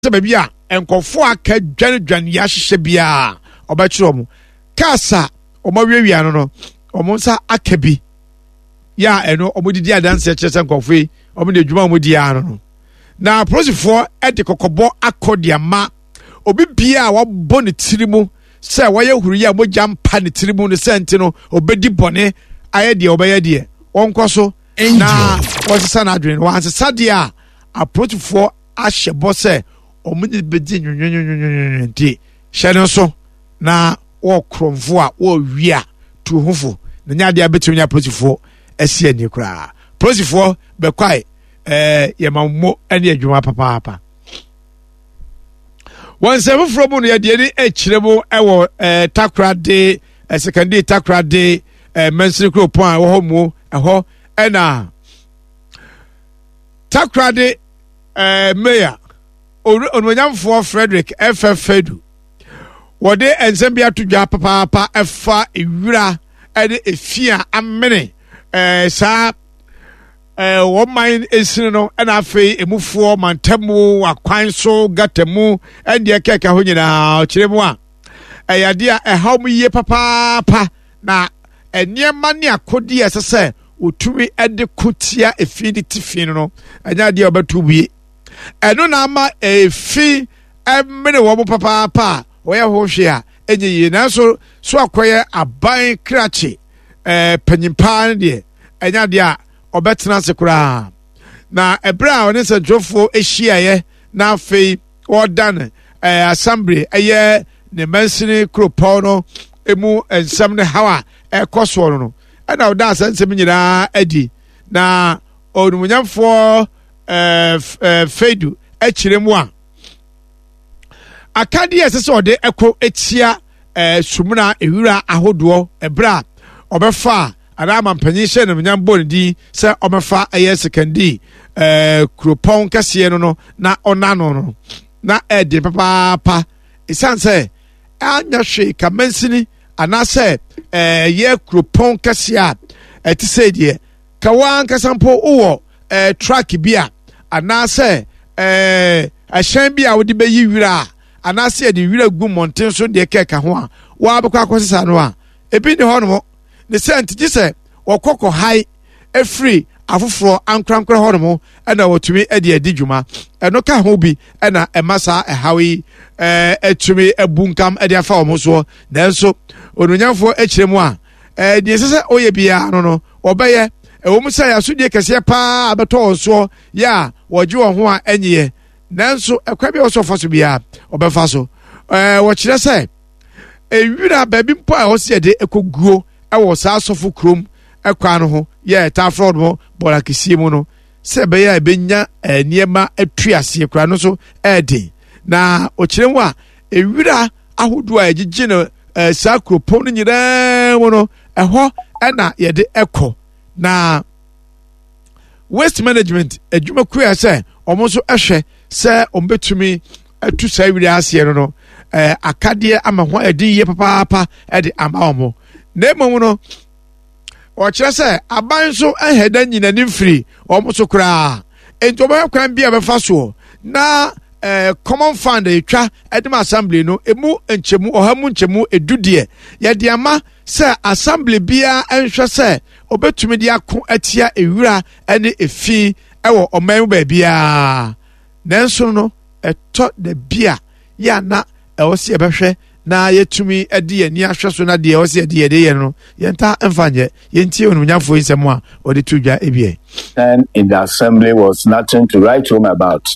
Sɛ baabi a nkurɔfoɔ a aka dwanedwane yɛ ahyehyɛ biara ɔbɛkyerɛ wɔn. Cars a wɔn awiawia no no, wɔn nsa aka bi. Yɛ a ɛno wɔn didi adanseɛ kyerɛ sɛ nkurɔfoɔ yi wɔn de adwuma a wɔn di ara no no. Na apolisifoɔ de kɔkɔbɔ akɔ de ama obi biara a wabɔ ne tiri mu sɛ wɔyɛ huruyɛ a mogya mpa ne tiri mu no sɛ nti no obɛdi bɔne ayɛ deɛ ɔbɛyɛ deɛ wɔnkɔ so na wɔsesa n'adwene no wɔansesa deɛ a apolisifoɔ ahyɛ bɔ sɛ wɔn de bɛdi nwonwonwonwonwonwo nti hyɛ no nso na wɔ korɔmfo a wɔrewi a tu ho fo na nyɛ adeɛ a bɛtumi ne apolisifoɔ asi ani koraa polisifoɔ bɛkwae ɛɛ yɛma mo ne adwuma papaapa wɔn nsɛm foforɔ mu no yɛde ani akyerɛ mu wɔ ɛɛ takorade ɛsɛkɛnde takorade ɛɛ mɛnsini kuropɔn a ɛwɔ hɔ mu ɛhɔ ɛna takorade ɛɛ mayor onimonyamfoɔ Frederick F.F. Fedu wɔde nsɛm bi ato dwa papaapa ɛfa ewira ɛne efi a amene ɛɛ saa ɛɛ wɔn man esini no ɛna afei emufoɔ mantamu akwan so gata mu ɛne ɛkɛkɛ ho nyinaa ɔkyerɛ mu a ɛyɛ adeɛ a ɛhaw mu yie papaapa na nneɛma ne akodeɛ ɛsɛ sɛ wɔtumi de ko tia efi de ti fi no no ɛnyɛ adeɛ a wɔbɛto wie ɛno na ama efi mene wɔn papaapa a wɔyɛ ho hwee a ɛnyɛ yie nanso so akɔyɛ aban krakye ɛɛ panyin paa no deɛ ɛnyɛ adeɛ a ɔbɛtena ase koraa na ɛberɛ a ɔne nsɛntwerɛfoɔ ahyiaeɛ na afei wɔredan ɛɛ assembly ɛyɛ ne mansini kuropɔn no emu nsɛm ne haw a ɛkɔ soɔ no no ɛna ɔda saa nsɛm nyinaa adi na onimonyamfoɔ ɛɛ ɛɛ fedu akyerɛ mu a akadeɛ ɛsɛ sɛ ɔde ɛkɔ etia ɛɛ sumina ewura ahodoɔ ɛberɛ a ɔbɛfa a anaa amampanyin hyɛ no nyam bɔ ne din sɛ ɔbɛfa ɛyɛ sekandi ɛɛ kuropɔn kɛseɛ no no na ɔna no no na ɛɛden papaapa esan sɛ anyɛ hwee ka mansini anaasɛ ɛyɛ kuropɔn kɛseɛ a ɛte sɛ deɛ ka wo ankasa mpo wowɔ ɛɛ truck bi a anaasɛ ɛɛ ɛhyɛn bi a wode bɛyi wira a anaasɛ yɛde wira gu mmɔnten so deɛ kɛka ho a wɔabɛkɔ akɔsesa no a ebi ne hɔ nom ne sɛ nti gye sɛ wɔkɔ kɔhae firi afoforɔ ankorankora hɔ nom ɛna wɔtumi de adi dwuma ɛno ka ho bi ɛna ɛma saa ɛhaw yi ɛɛ ɛtumi abu nkam de afa wɔn soɔ nanso onuonyamfoɔ akyerɛ mu a ɛɛ deɛ ɛsɛ sɛ ɔyɛ biara no no wɔbɛyɛ ɛwɔ mu sɛ yɛasodie kɛseɛ paa abɛtɔ wɔn soɔ yɛ a wɔgye wɔn ho a ɛnyeɛ nanso ɛkwan bi a wɔsɔ fa so biara wɔbɛfa so ɛɛ wɔkyerɛ sɛ Ewira baabi mpo a ɛhɔ sɛ yɛde ɛkɔguo wɔ saa asɔfo kurom kwan no ho yɛ ɛtaa frɛ no bɔɔla kɛseɛ mu no sɛ ɛbɛyɛ a ɛbɛnya nneɛma atu aseɛ koraa no nso ɛɛden na ɔkyerɛ mu a ewira ahodoɔ a yɛgyegye no saa kuropɔn no nyinaa mu no ɛhɔ ɛna yɛde ɛkɔ na waste management adwumakuo a sɛ wɔn nso ɛhwɛ sɛ wɔn bɛtumi atu saa wiri aseɛ no no ɛɛ akadeɛ ama ho ayɛ den yie papaapa ɛde ama wɔn na mmom no ɔkyerɛ sɛ aban nso ɛhɛ da nyina ne mfiri wɔn so koraa nti wɔbɛhwɛ kwan bi a bɛfa soɔ na ɛɛ common fund etwa ɛde ma assembly no emu nkyɛmu ɔha mu nkyɛmu edu deɛ yɛde ama sɛ assembly biara nhwɛ sɛ obetumi de ako atia ewura ɛne efi ɛwɔ ɔman mu baabiara. Nanso no, ɛtɔ da bi a, yɛ a na ɛwɔ sɛ yɛbɛhwɛ na yɛtumi de yɛn ani ahwɛ so na deɛ ɛwɔ sɛ yɛde yɛde yɛ no, yɛntaa mfa nyɛ. Yɛntie onimnyamfoɔ yi nsɛm a ɔde to dwa ebien. Then in the assembly was nothing to write home about.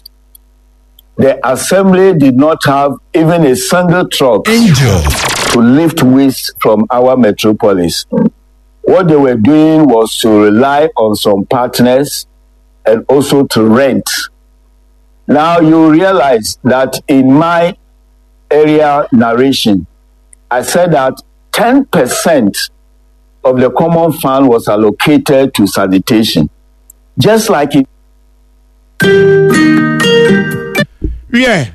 The assembly did not have even a single truck Angel. to lift waste from our metropolis. What they were doing was to rely on some partners and also to rent. Now you realize that in my area narration, I said that 10% of the common fund was allocated to sanitation. Just like it. Yeah.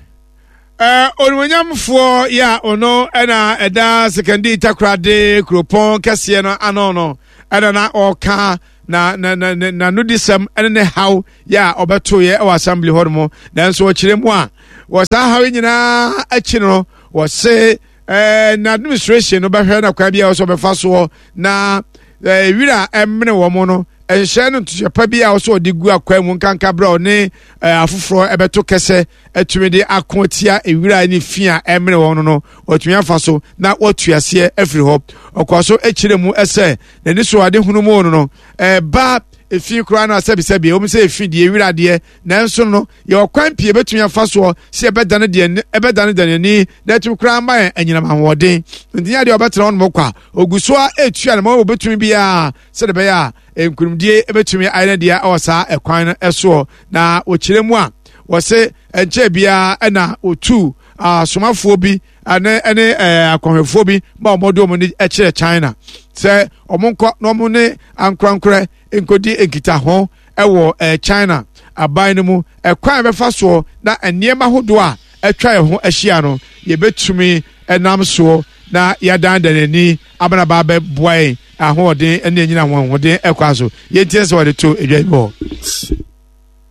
Eh, onimuonyamfoɔ yɛ a ɔno ɛna ɛda sekandi takorade kuropɔn kɛseɛ no ano no ɛna na ɔka na na na na n'anodisɛm ɛne ne haw yɛ a ɔbɛtoeɛ ɛwɔ assembly hɔ nom nanso ɔkyerɛ mu a Wɔ saa haw yi nyinaa akyi no, wɔse ɛɛ na administration no bɛhwɛ na kwan bi a wɔsɛ wɔbɛfa soɔ na ɛɛ wira a ɛmene wɔn no nhyɛ no ntohyɛ pa bi a wɔsɛ wɔde gu akwan mu nkanka berɛ a ɔne ɛɛ afoforɔ ɛbɛto kɛsɛ atumi de ako atia ewira ne fi a ɛmene wɔn no no wɔatumi afa so na wɔatu aseɛ afiri hɔ. Ɔkɔɔ so kyerɛ mu sɛ n'ani so ade hunu mu no no ɛba efi koraa no asɛbisɛbi ɛwɔ mu sɛ efi deɛ ewira deɛ nanso no yɛ ɔkwan pii ebetumi afa soɔ sɛ ɛbɛdane deɛ ɛbɛdane deɛ n'ani na ɛtumi koraa ma yɛn anyinam ahoɔden nti nyɛ adeɛ ɔbɛtena hɔ nom kwa ogu so a etua ne ma wɔbɛtumi biara sɛdeɛ ɛbɛyɛ a nkunimdie ebetumi ayɛ ne deɛ ɛwɔ saa ɛkwan no ɛsoɔ na wɔkyerɛ mu a wɔse ɛnkyɛɛ biara ɛna wɔtuu asomafoɔ bi ɛne ɛne ɛɛ akɔhwɛfoɔ bi ma wɔn de wɔn ani kyerɛ China sɛ wɔn nkɔ na wɔn ne ankorankorɛ nkɔdi nkitaho ɛwɔ ɛɛ China aban no mu ɛkwan a bɛfa soɔ na nneɛma ahodoɔ a atwa yɛn ho ahyia no yɛbɛtumi ɛnam soɔ na yɛadandan ani abanaba abɛboa yɛn ahoɔden ne anyina ahoɔden ɛkwan so yɛntie sɛ wɔde to edwa yi bɔ.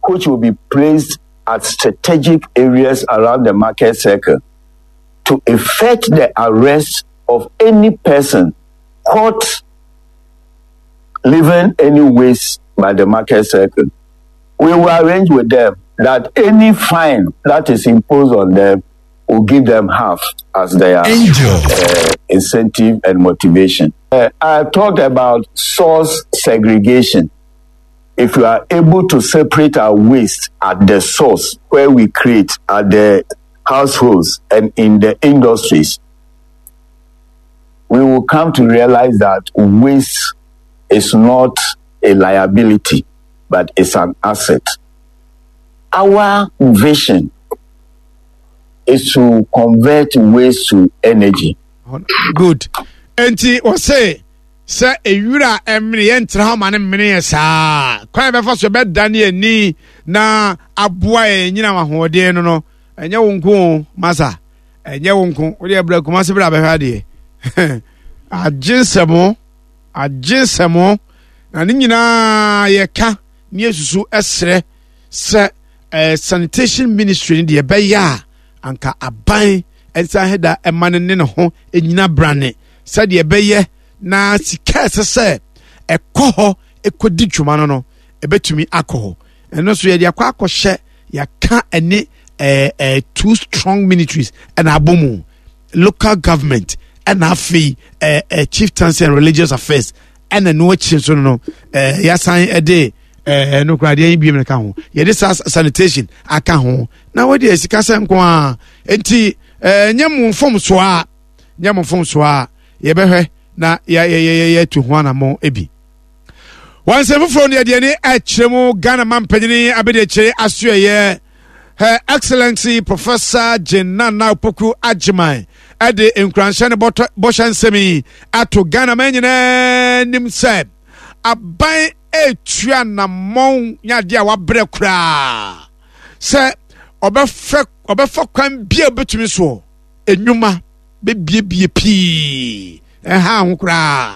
Which will be placed at strategic areas around the market circle to effect the arrest of any person caught leaving any waste by the market circle. We will arrange with them that any fine that is imposed on them will give them half as their incentive and motivation. I talked about source segregation. If we are able to separate our waste at the source where we create, at the households and in the industries, we will come to realize that waste is not a liability, but it's an asset. Our vision is to convert waste to energy. Good. Enti wɔse sɛ ewira ɛmene yɛn ntena hɔ ma ne mmene yɛ saa kwan yɛbɛfa so yɛbɛdane ani na aboa yɛn nyina ahoɔden no no ɛnyɛ wo nko o masa ɛnyɛ wo nko wode ɛbrɛ kuma se berɛ abɛhwɛ adeɛ agye nsɛmo agye nsɛmo na ne nyinaa yɛka ne yɛsusu ɛserɛ sɛ eh, sanitation ministry no deɛ ɛbɛyɛ a anka aban ɛnsan heda ɛma no ne ne ho ɛnyina brane sɛdeɛ ɛbɛyɛ na sika ɛsɛ sɛ ɛkɔ hɔ ɛkɔdi dwuma no no ɛbɛtumi akɔ hɔ ɛno nso yɛde akɔ akɔhyɛ yɛaka ɛne ɛɛ ɛɛ two strong ministries ɛna abɔ mu local government ɛna afei ɛɛ ɛɛ chieftaincy and religious affairs ɛna ɛno akyi nso no ɛɛ yɛasan ɛde ɛɛ no koraa deɛ yɛn biem ka ho yɛde saa sanitation aka ho na wɔde sika sɛ nko a nti ɛɛ nyɛ mo mfomsoɔ a nyɛ mo mfomsoɔ a yɛbɛhwɛ na yɛtu ho anammɔn bi. Wɔn nsɛm foforɔ no yɛde ani ɛkyerɛ mu Ghana mampanyini abɛdekyere asoɛyɛ Her Excellency Professor Jane Nana Opoku Agyeman ɛde nkuranhyɛ ne bɔhyɛ nsɛm yi ato Ghana man nyinaa nim sɛ aban etua anammɔn nyɛ adeɛ a wabrɛ koraa sɛ ɔbɛfɛ ɔbɛfa kwan bi a obetumi soɔ enwuma bɛbiebie pii ɛha ho koraa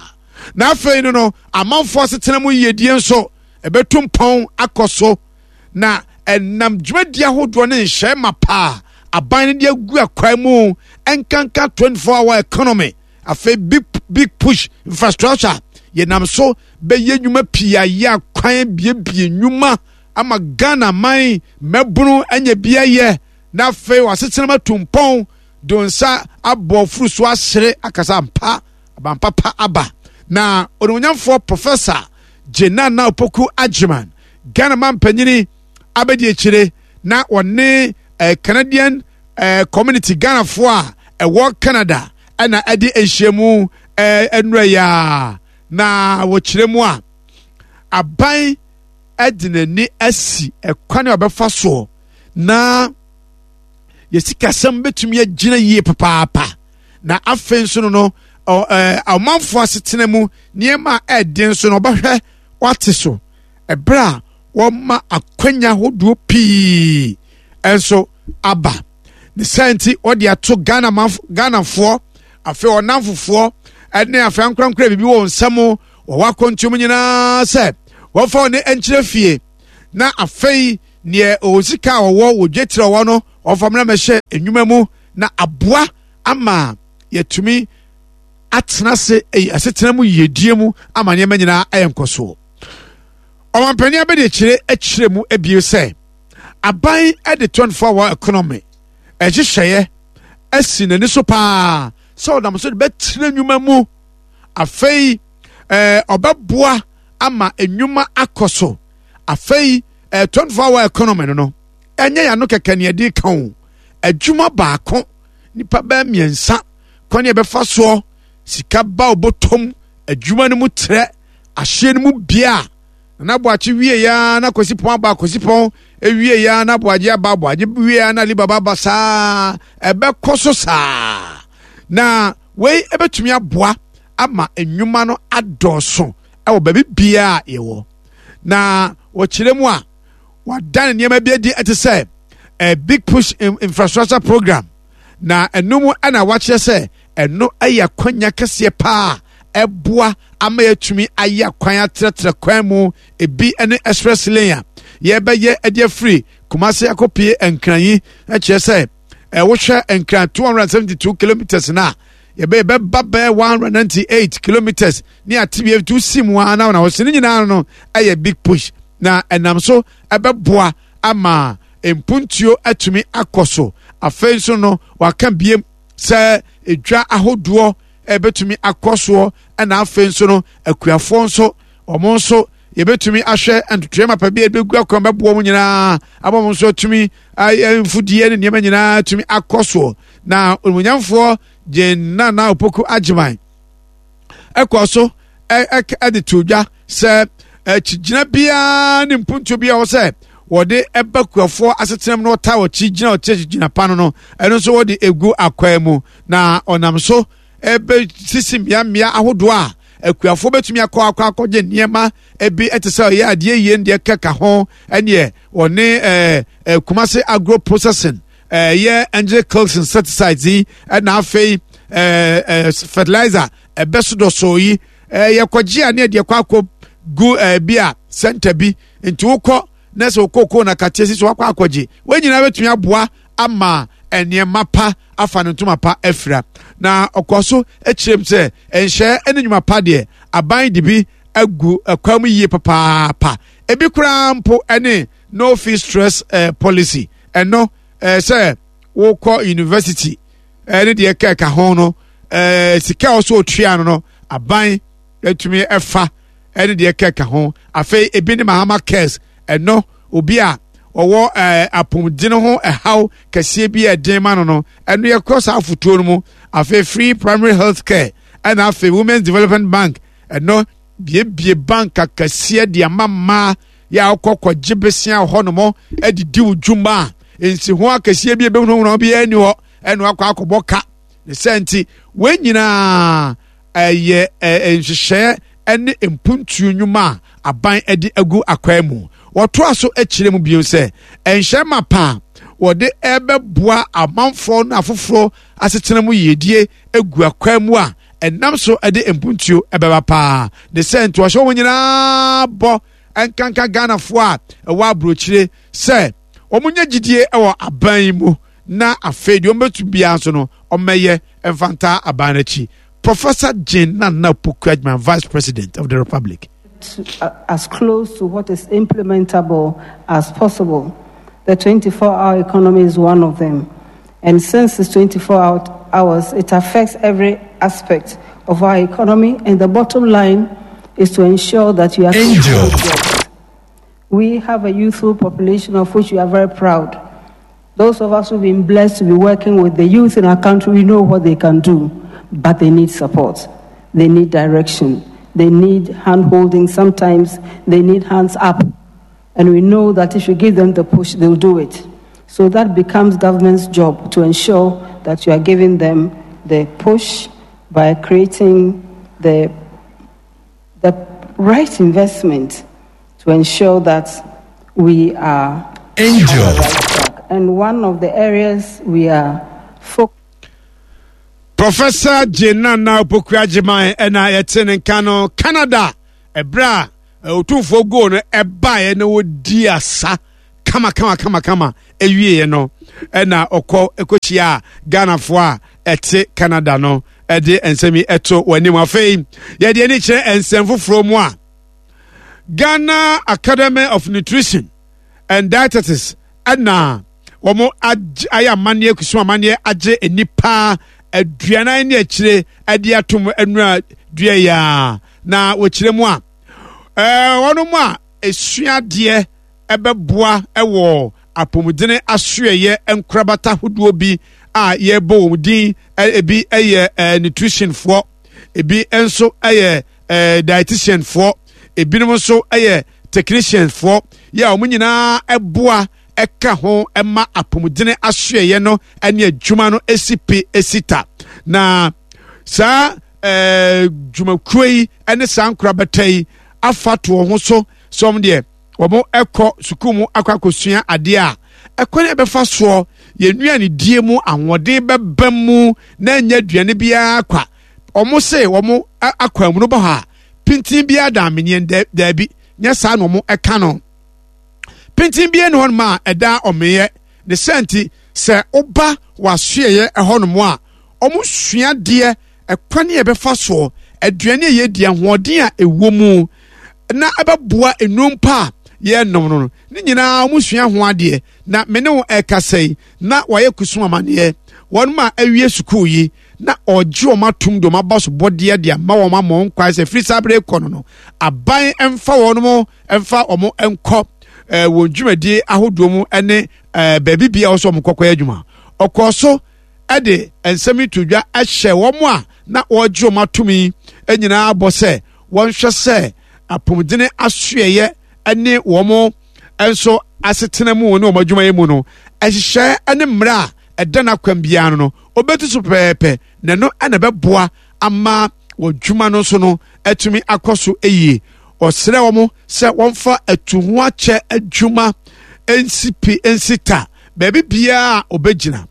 na afei no no amanfoɔ asetena mu yiedie nso ɛbɛtu mpɔn akɔ so na ɛnam dwumadie ahodoɔ ne nhyɛn ma paa aban no de agu akwan mu nkanka 24 hour economy afei big big push infrastructure yɛnam so bɛyɛ nnwuma pii ayɛ akwan biebie nnwuma ama Ghana man mmabunu anya bi ayɛ na afei wasetena mu atu mpɔn de nsa abɔ furu so asere akasa ampa abampapa aba na onimonyamfoɔ Professor Jenana Opoku Agyeman Ghana man panyini abɛdi akyire na wɔne eh, Canadian eh, community Ghanafoɔ a ɛwɔ Canada ɛna ɛde nhyiamu eh, nnura yi a na wɔkyerɛ mu a aban de n'ani asi ɛkwan a ɔbɛfa soɔ na yɛ sikasɛm bɛtumi agyina yie papaapa na afei nso no no ɔmanfoɔ asetena mu nneɛma a ɛden nso no ɔbɛhwɛ wate so ɛberɛ a wɔma akwanya hodoɔ pii nso aba ne saa nti wɔde ato Ghana Ghanafoɔ afei ɔnamfofoɔ ɛne afei ankorankora biribi wɔ nsɛm wɔwɔ akɔntuom nyinaa sɛ wɔmfa wɔn nkyerɛ fie na afei neɛ ɔwɔ sika a ɔwɔ wɔ dwetire ɔwɔ no Wɔmfa mmra mmɛhyɛ nnwuma mu na aboa ama yɛatumi atena ase asetena mu yiedie mu ama nneɛma nyinaa ayɛ nkɔsoɔ. Ɔmampanin abɛdiakyire akyerɛ mu abie sɛ aban de 24 hour economy ɛhyehyɛeɛ asi n'ani so paa sɛ ɔnam so de bɛtena nnwuma mu. Afei ɛɛ ɔbɛboa ama nnwuma akɔ so. Afei ɛɛ 24 hour economy no no ɛnyɛ yɛn ano kɛkɛ ne yɛde ka o. Adwuma baako nipa bɛɛ mmiɛnsa kwan yɛ bɛfa soɔ sika ba ɔbɔtɔm adwuma no mu trɛ ahyeɛ no mu bia na aboakye wie ya na kwasi pɔn aba kwasi pɔn ewie ya na aboagye aba aboagye wie ya na alibaba aba saa ɛbɛkɔ so saa na wei ɛbɛtumi aboa ama nnwuma no adɔɔso ɛwɔ baabi biara yɛwɔ na wɔkyerɛ mu a wadan nneɛma bi adi ɛte sɛ a big push infrastructure program na ɛno mu ɛna wakyerɛ sɛ ɛno ɛyɛ akwanya kɛseɛ paa ɛboa ama yɛatumi ayɛ akwan atrɛtrɛ kwan mu ebi ne express lane a yɛbɛyɛ ɛde afiri Kumasi akɔpie Nkran yi ɛkyerɛ sɛ ɛwohwɛ Nkran 272 kilometers na yɛbɛyɛ bɛba bɛyɛ 198 kilometers ne ate bi etu si mu ara na wɔsi ne nyinaa no ɛyɛ big push na ɛnam so ɛbɛboa ama mpuntuo atumi akɔ so. Afei nso no waka biem sɛ edwa ahodoɔ ɛbɛtumi akɔ soɔ, ɛna afei nso no akuafoɔ nso wɔn nso yɛbɛtumi ahwɛ ntotoeɛ mapa bi a ɛbɛgu akwan bɛboa wɔn nyinaa ama wɔn nso atumi ayɛ mfudie ne nneɛma nyinaa atumi akɔ soɔ. Na onimuonyamfoɔ Jane Nana Opoku Agyeman ɛkɔɔ so ɛde to dwa sɛ akyigyina biara ne mpuntuo biara wɔ sɛ wɔde ɛba kuafoɔ asetenam na wɔtaa wɔkyi gyina wɔte akyigyina pa no no ɛno nso wɔde egu akwan mu na ɔnam so ɛbɛsisi mmeammea ahodoɔ a akuafoɔ bɛtumi akɔ akɔ akɔgye nneɛma ebi ɛte sɛ ɔyɛ adeɛ yie deɛ kɛka ho ɛneɛ wɔne ɛɛ ɛɛ Kumasi agro processing ɛyɛ angel kills insecticides yi ɛna afei ɛɛ ɛɛ fertilizer ɛbɛso dɔsɔ yi ɛɛ yɛkɔgye a ne yɛde ɛkɔ akɔ gu ɛɛ bi a center bi nti wokɔ na sɛ okoko na kateɛ si so wakɔ akɔgye wɔn nyinaa bɛtumi aboa ama nneɛma pa afa ne ntoma pa afira na ɔkɔ so akyerɛ mu sɛ nhyɛ ne nnwuma pa deɛ aban de bi agu ɛkwan mu yie papaapa ebi koraa mpo ɛne no fee stress eh, policy ɛno eh, sɛ wokɔ university ɛne eh, deɛ kɛka ho no eh, sika a ɔsɛ otua no no aban atumi ɛfa ɛne deɛ kɛka ho. Afei ebi ne Mahama Cares, ɛno obi a ɔwɔ ɛɛ apɔmuden ho ɛhaw kɛseɛ bi a ɛden ma no no ɛno yɛkɔ saa afotuo no mu. Afei free primary health care, ɛna afei Women's Development Bank, ɛno biebie bank akɛseɛ de ama mmaa yɛ a wokɔ kɔgye besia wɔ hɔnom de di wo dwuma a nsiho akɛseɛ bi ebɛhunahuna bi ani hɔ ɛna wakɔ akɔbɔ ka ne sɛ nti wɔn nyinaa ɛyɛ nhyehyɛɛ ne mpuntuo nnwuma a aban de agu akwan mu. Wɔtoa so kyerɛ mu bio sɛ nhyɛ mapa a wɔde ɛbɛboa amanfoɔ no afoforɔ asetena mu yiedie gu akwan mu a ɛnam so de mpuntuo ɛbɛba paa. Ne sɛ nti wɔhyɛ wɔn nyinaa bɔ nkanka Ghanafoɔ a ɛwɔ aburokyire sɛ wɔn nyɛ gyidie wɔ aban yi mu na afei deɛ wɔbɛtu biara nso no wɔmmɛyɛ mfa ntaa aban no akyi. Professor Jane Nana Opoku Agyemang, Vice President of the Republic. To, as close to what is implementable as possible. The 24 hour economy is one of them. And since it's 24 hours, it affects every aspect of our economy. And the bottom line is to ensure that you are. Angel. We have a youthful population of which we are very proud. Those of us who've been blessed to be working with the youth in our country, we know what they can do, but they need support. They need direction. They need hand holding. Sometimes they need hands up. And we know that if you give them the push, they'll do it. So that becomes government's job to ensure that you are giving them the push by creating the, the right investment to ensure that we are Angel. on the right track. And one of the areas we are focused Professor Jane Nana Opoku Agyeman ɛna yɛte ne nka no Canada ɛberɛ a otumfoɔ goal no ɛbaeɛ na wɔdi asa kama kama kama kama ɛwieɛ no. ɛna ɔkɔ ɛkɔhyia Ghanafoɔ a ɛte Canada no ɛde nsɛm yi ɛto wɔn anim. Afei yɛde ani kyerɛ nsɛm foforɔ mu a Ghana Academy of Nutrition and Dietetics ɛna wɔn ayɛ amanneɛ kusum amanneɛ agye nnipa aduanan ne akyire de atom nnura dua yi a na wɔkyerɛ mu a ɛɛ wɔn a esuadeɛ ɛbɛboa ɛwɔ apɔmuden asoɛyɛ nkorabata ahodoɔ bi a yɛbɔ wɔn din ebi yɛ ɛɛ nutritionfoɔ ebi nso yɛ ɛɛ dietitianfoɔ ebinom nso yɛ technicianfoɔ yɛ a wɔn nyinaa ɛboa ɛka ho ɛma apɔmuden asoɛyɛ no ɛne adwuma no esi pi esi ta na saa ɛɛ dwumakuo yi ɛne saa nkorabata yi afa to wɔn ho so sɛ wɔn deɛ wɔn ɛkɔ sukuu mu akɔ akɔsua adeɛ a ɛkwan a ɛbɛfa soɔ yɛn nnuane die mu ahoɔden bɛba mu na ɛnyɛ aduane biara kwa wɔn se wɔn akwan mu no bɔ hɔ a pintin biara da ameneɛ daabi nyɛ saa na wɔn ɛka no pintin biara ni hɔnom a ɛda ɔmeeɛ ne sɛ nti sɛ woba w'asoɛeɛ ɛhɔnom a wɔn sua deɛ ɛkwan a ɛbɛfa soɔ aduane a yɛdi ahoɔden a ɛwɔ mu na ɛbɛboa nnuro mpo a yɛnom no ne nyinaa wɔn sua ho adeɛ na me ne wo ɛkasa yi na wɔayɛ kusum amaneɛ wɔn a awie sukuu yi na ɔgye wɔn atom de wɔn aba so bɔdeɛ de ama wɔn ama wɔn kwan sɛ firi saa bere kɔ no no aban mfa wɔn mo mfa wɔn nkɔ ɛɛ wɔn dwumadie ahodoɔ mu ne ɛɛ baabi bia wɔsɔ wɔn kɔkɔyɛ adwuma ɔkɔɔ so de nsɛm yi to dwa hyɛ wɔn a na wɔregye wɔn atom yi nyinaa bɔ sɛ wɔnhwɛ sɛ apɔmuden asoɛeɛ ne wɔn nso asetena mu ne wɔn adwumayɛ mu no nhyehyɛe ne mmerɛ a ɛda n'akwan biara no wɔbɛtu so pɛpɛɛpɛ na ɛno na ɛbɛboa ama wɔn adwuma no nso no atumi akɔ so yie. Ɔsrɛ wɔn sɛ wɔmfa atuhoakyɛ adwuma nsi pi nsi ta baabi biara a ɔbɛgyina.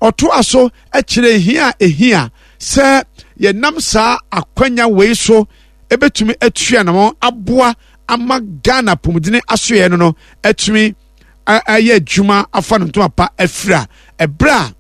Ɔtoa so kyerɛ hia a ehia sɛ yɛnam saa akwanya wei so ebetumi atua na aboa ama Ghana apɔmuden asoɛɛ no no atumi ayɛ adwuma afa no ntoma pa afira ɛberɛ a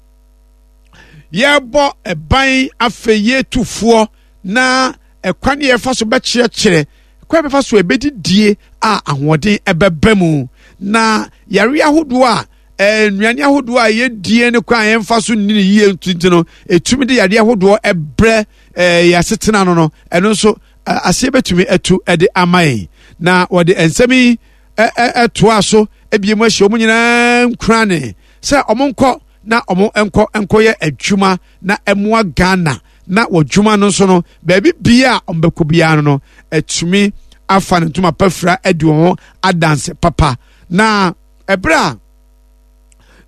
yɛrebɔ ɛban afei yɛtufoɔ na ɛkwan yɛfa so bɛkyerɛkyerɛ kwan bɛfa so ɛbɛdidie a ahoɔden ɛbɛba mu na yare ahodoɔ a eh, nnuane ahodoɔ a yɛdie ne kwan a yɛmfa so nni no yie nti no ɛtumi de yadeɛ ahodoɔ ɛbrɛ eh, yɛ asetena no no ɛno nso eh, aseɛ bɛtumi atu de ama yɛn na wɔde nsɛm yi ɛtoa so ebie mu ahyɛ wɔn nyinaa nkurane sɛ wɔn nkɔ na wɔn nkɔ nkɔyɛ adwuma na ɛmoa Ghana na wɔ dwuma no nso no baabi bia a wɔn bɛkɔ biara no no ɛtumi afa ne ntoma pafira adi wɔn ho adanse papa na Ɛberɛ a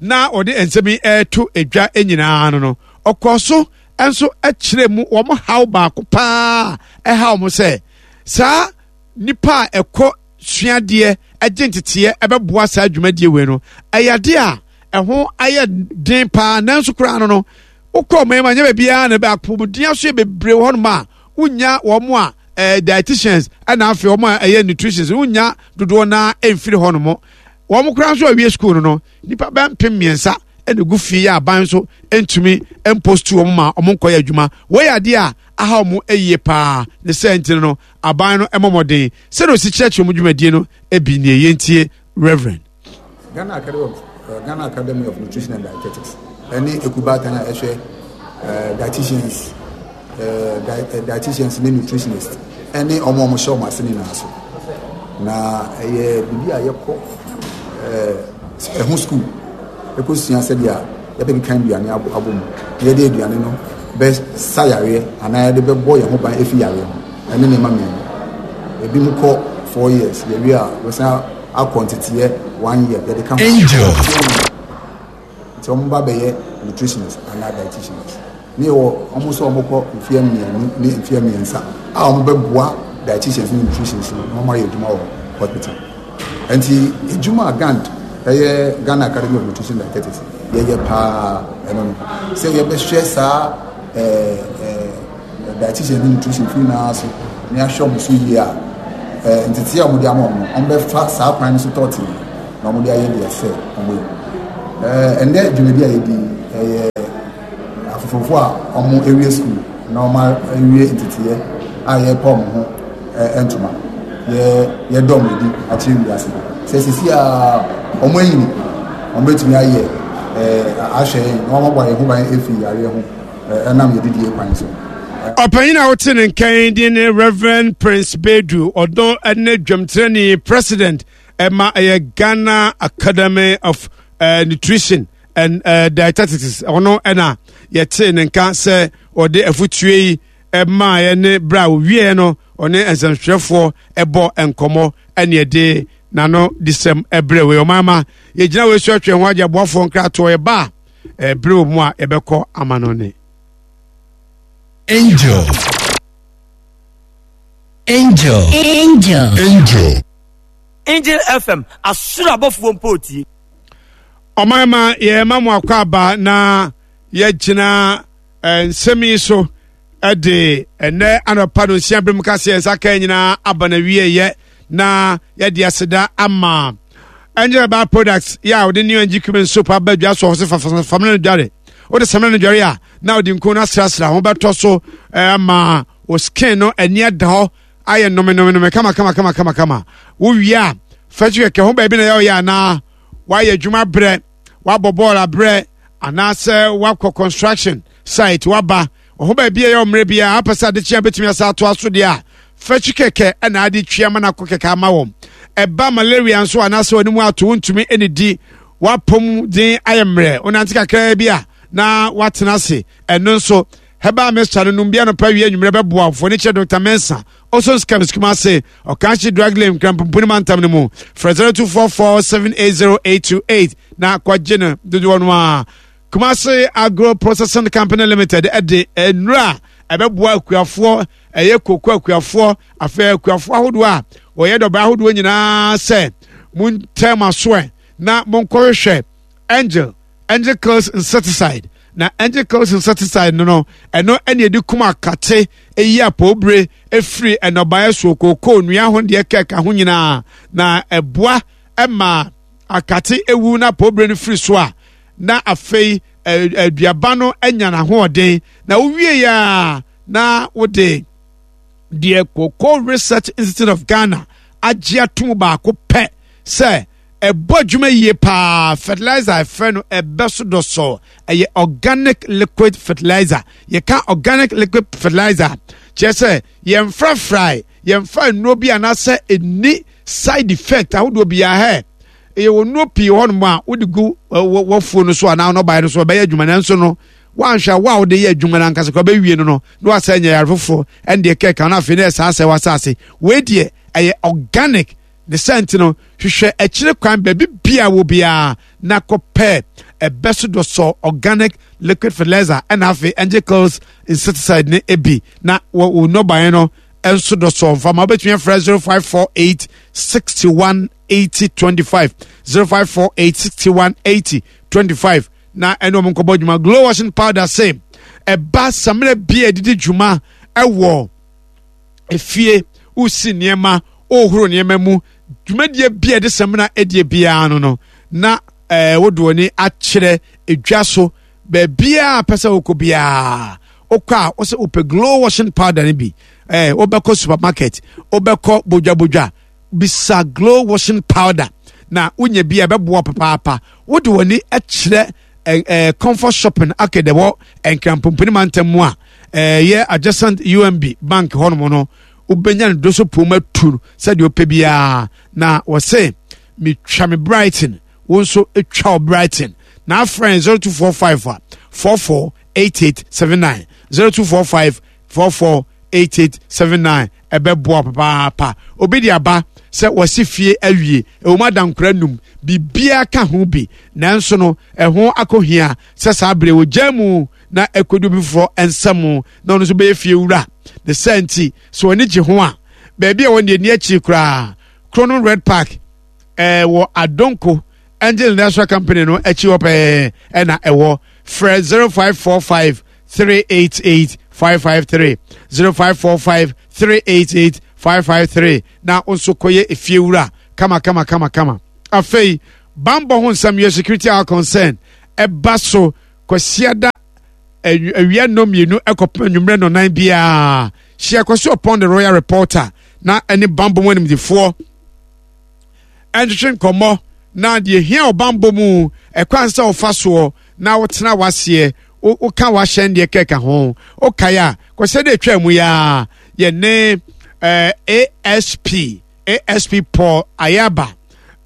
na ɔde nsɛm yi reto dwa nyinaa no no, ɔkɔɔ so nso kyerɛ mu wɔn haw baako paa ɛha wɔn sɛ saa nipa a ɛkɔ suadeɛ gye nteteɛ ɛbɛboa saa dwumadie wei no ɛyɛ adeɛ a ɛho ayɛ den paa nanso koraa no no wokɔ ɔman mu anyɛ baabiara na apɔmuden aso yɛ bebree wɔ hɔnom a wonya wɔn a ɛɛ dietitians ɛna afei wɔn a ɛyɛ nutritionists wonya dodoɔ naa ɛmfiri hɔnom wɔn koraa nso awie sukuu no no nipa bɛn mpem mmiɛnsa ɛna egu fie yɛ aban nso ntumi mpostu wɔn ma wɔn nkɔyɛ adwuma wɔyɛ adeɛ a aha wɔn ayie paa ne sɛ nti no aban no ɛmɔ mmɔden sɛdeɛ osi kyerɛkyerɛ wɔn dwumadie no ebi nie yɛntie reverend. Ghana Academy of uh, Ghana Academy of Nutrition and Dietetics ɛne ekubaatan a ɛhwɛ uh, dietitians uh, di, uh, dietitians ne nutritionists ɛne wɔn a wɔhyɛ wɔn ase nyinaa so na ɛyɛ biribi a yɛkɔ ɛɛ ɛho sukuu ɛkɔsua sɛdeɛ yɛbɛkeka aduane abɔ mu na yɛde aduane no bɛsa yareɛ anaa yɛde bɛbɔ yɛn ho ban efi yareɛ ho ɛne nneɛma mmienu ebi mu kɔ 4 years yɛwie a wɔsan akɔ nteteɛ one year yɛde ka ho. Angel. Nti wɔn ba bɛyɛ nutritionist anaa dietitianist. Ne wɔ wɔn nso wɔn kɔ mfeɛ mmienu ne mfeɛ mmiɛnsa a wɔn bɛboa dietitians ne nutritionists no na wɔn ayɛ adwuma wɔ hospital. Nti adwuma a GAND ɛyɛ Ghana Academy of Nutrition and Dietetics yɛyɛ paa ɛno no sɛ yɛbɛhwɛ saa ɛɛ ɛɛ dietitian ne nutrition fo nyinaa so na yɛahwɛ wɔn so yie a, ɛɛ ntetee a wɔde ama wɔn no, wɔbɛfa saa kwan no so tɔɔtee na wɔde ayɛ deɛ ɛsɛ wɔn yɛ. Ɛndɛ dwumadi a yɛdi ɛyɛ afofofo a wɔn awie sukuu na wɔn awie nteteeɛ a yɛrepa wɔn ho ntoma yɛ yɛdɔ wɔn adi akyerɛ wiase sɛ sisi a wɔn anyini wɔn bɛtumi ayɛ ahwɛ yɛn na wɔn abɔ yɛn ho ban afiri yareɛ ho ɛnam yɛn didie kwan so. Ɔpanyin a wote ne nkan din ne Reverend Prince Bedu, ɔdɔ ne dwamtirani president ɛma ɛyɛ Ghana Academy of uh, Nutrition and uh, Dietetics. Ɔno ɛna yɛte ne nka sɛ ɔde afutuo yi ɛmaa yɛ ne berɛ a ɔwieɛ no ɔne nsɛmtwerɛfoɔ ɛbɔ nkɔmmɔ ɛne ɛde n'ano de sɛm ɛbrɛ wei ɔman ma yɛgyina wei so atwe ho agye aboafoɔ nkratoɔ yɛba a ɛberɛ wɔ mu a yɛbɛkɔ ama no ne Angel. Angel. Angel. Angel. Angel FM, asoro abɔfoɔ mpo tie. Ɔman ma yɛma mo akɔ aba na yɛgyina eh, nsɛm yi so de ɛnɛ anɔpa no nsia berɛ mu ka sɛ yɛn nsa ka nyinaa aba na wieɛ na yɛde aseda ama Angel Herbal Products yɛ a wɔde new NG cumin soap aba dwa so ɔsɛ famina no dware wode samina no dware a na wode nku no asrasra ho bɛtɔ so ama wo skin no ani ada hɔ ayɛ nomenome kama kama kama kama kama wowie a fɛkyi kɛkɛ ho baabi na yɛ ɔyɛ anaa woayɛ adwuma brɛ woabɔ bɔɔl abrɛ anaasɛ woakɔ construction site woaba Ɔho baabi a ɛyɛ ɔmmerɛ biara apɛ sɛ adekyea bɛtumi asa atoa so deɛ a, fɛkyi kɛkɛ na ade twi ama no akɔ kɛkɛ ama wɔn. Ɛba malaria nso anaasɛ w'anim ato wontumi nnidi, w'apɔm den ayɛ mmerɛ, wonante kakraa bi a na woatena ase. Ɛno nso, herbal mixture no nom bi anɔpa awia anwummerɛ bɛboa wo. Mfoni kyerɛ Dr. Mensah, Ozone Chemist Kumasi, Ɔkanhye Drug Lane, Nkrampopuni mantam no mu. Frɛ 0244 780 828 na kɔgye no dodoɔ no ara. Kumasi Agro Processing Company Limited de nnuro a ɛbɛboa akuafoɔ, ɛyɛ koko akuafoɔ, afei akuafoɔ ahodoɔ a wɔyɛ dɔbaa ahodoɔ nyinaa sɛ montɛn mo asoɛ na monkɔhwehwɛ Angel, Angel Kills Insecticide. Na Angel Kills Insecticide no no, ɛno ɛne ɛde kum akate, ɛyi apɔwbire, ɛfiri nnɔbaeɛ so, kookoo, nnua ho deɛ kɛka ho nyinaa, na ɛboa ma akate ewu na apɔwbire no firi so a, na afei aduaba no anya n'ahoɔden na wowie a na wode deɛ Cocoa Research Institute of Ghana agye atom baako pɛ sɛ ɛbɔ adwuma yie paa fertilizer ɛfrɛ no ɛbɛ so dɔsɔ ɛyɛ organic liquid fertilizer yɛka organic liquid fertilizer kyerɛ sɛ yɛmfrafrae yɛmfa nnuro bi anaasɛ ɛnni side effect ahodoɔ biara hɛ ɛyɛ wɔ nnuro pii hɔnom a wode gu wafuo no so anaa nnɔbaeɛ no so ɛbɛyɛ adwuma nanso no woanhwɛ a wo a wode yɛ adwuma no ankasa kora bɛwie no no na wasɛ nyɛ yare foforɔ ɛndeɛ kɛka no afei na ɛsaa sɛ wasase wei deɛ ɛyɛ organic ne sɛ nti no hwehwɛ akyire kwan baabi bia wɔ biara na kɔpɛ ɛbɛ so dɔsɔ organic liquid fertilizer ɛna afei angel insecticide ne ebi na wɔ nnɔbaeɛ no nso dɔsɔ mfama wobɛtumi afrɛ 0548 61 80 25 0548 61 80 25 na ɛne ɔmo nkɔbɔ dwuma glow washing powder se ɛba samina bi a ɛdidi dwuma ɛwɔ efie wosi nneɛma wohoro nneɛma mu dwumadie bi a ɛde samina ɛdie biara no no na ɛɛ wode w'ani akyerɛ edwa so baabiara pɛ sɛ wokɔ biara wokɔ a wosɛ wopɛ glow washing powder no bi ɛɛ wobɛkɔ supermarket wobɛkɔ bodwabodwa bisa glow washing powder na wonya bi a ɛbɛboa papaapa wode w'ani kyerɛ ɛɛ comfort shopping arcade ɛwɔ nkrampomponi mantam mu a ɛyɛ adjacent umb bank hɔnom no wobɛnya no doso pom atu sɛdeɛ wopɛ biara na wɔse metwa me brighton wo nso twa wo brighton na afrɛ 0245 a 44 8879 0245 44 8879 ɛbɛboa papaapa obi de aba sɛ wɔsi fie awie ɛwɔ mu adankora num biribiara ka ho bi nanso no ɛho akɔhia sɛ saa bere wɔgya mu na ɛkɔdu bi foforɔ nsam na ɔno nso bɛyɛ fie wura ne sɛ nti sɛ wɔn gye ho a baabi a wɔn deɛ ni akyiri koraa krono red park ɛɛ wɔ adonko angel industrial company no akyi hɔ pɛɛ ɛna ɛwɔ frɛ 0545 388 553 0545 388 553 na wo nso kɔyɛ efie wura kama kama kama kama afei. Bambɔ ho nsɛm yɛ security our concern ɛba so Kwasiada awia nnɔmmienu ɛkɔpem anwummerɛ nnɔnan biara. Hyia Kwasi Ɔpɔn the Royal Reporter na ɛne bambɔ mu animdefoɔ ɛntwetwe nkɔmmɔ na deɛ hia ɔbambɔ mu ɛkwan sɛ ɔfa soɔ na wotena waseɛ woka wahyɛn deɛ kɛka ho wokae a kɔsɛ de atwa mu ya yɛne eh, ASP ASP Paul Ayaba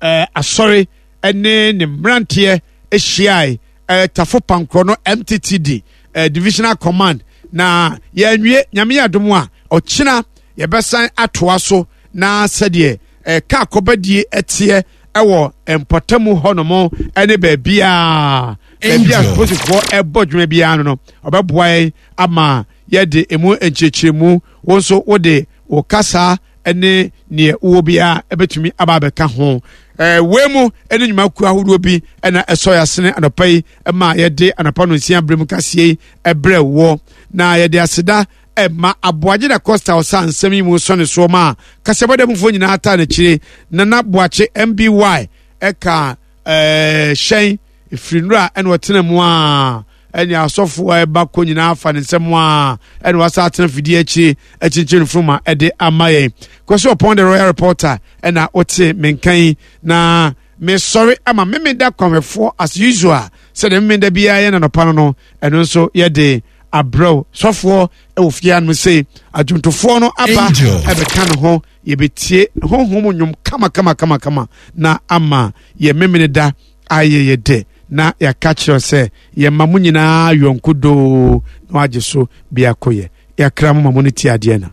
eh, asɔre ne ne mmeranteɛ hyiae eh, Tafo Pankorɔ no MTTD eh, Divisional Command na yɛanwie nyame yɛ adom a ɔkyena yɛbɛsan atoa so na sɛdeɛ eh, kaa kɔbadie ɛteɛ ɛwɔ mpɔtamu hɔnom ɛne baabiaa baabi a polisifoɔ ɛbɔ dwuma biara no no ɔbɛboa yɛn ama yɛde emu nkyerɛkyerɛmu wo nso wode wo kasa ne neɛ wowɔ biara ɛbɛtumi aba abɛka ho. Wei mu ne nnwumakuo ahodoɔ bi na ɛsɔ yɛ asene anɔpa yi ma yɛde anɔpa no nsia berɛ mu kaseɛ yi ɛbrɛ wɔ na yɛde aseda ɛma Aboagye da Costa ɔsa nsɛm yi mu sɔ ne soɔ ma kaseɛbɔda mufoɔ nyinaa taa n'akyire. Nana Boakye MBY ɛka ɛɛ hyɛn ɛfiri nnora ɛna ɔtena mu a ɛne asɔfo a ɛba kɔ nyinaa afa ne nsɛm a ɛna wasa atena fidie akyire akyinkyini mfroma ɛde ama yɛn. Kwasi Ɔpɔn the Royal Reporter ɛna wote menka yi na mesɔre ama memeda kwanhwɛfoɔ as usual sɛdeɛ memeda biara yɛ nanɔpa no no ɛno nso yɛde abrɛw sɔfoɔ ɛwɔ fie anom sei adwomtofoɔ no aba ɛbɛka ne ho yɛbɛtie honhom nnwom kama kama kama kama na ama yɛ memene da ayɛ yɛ dɛ na yɛaka kyerɛ sɛ yɛma mo nyinaa yɔnko doo na wagye so biako yɛ yɛakra mo ma mo no tie adeɛ na.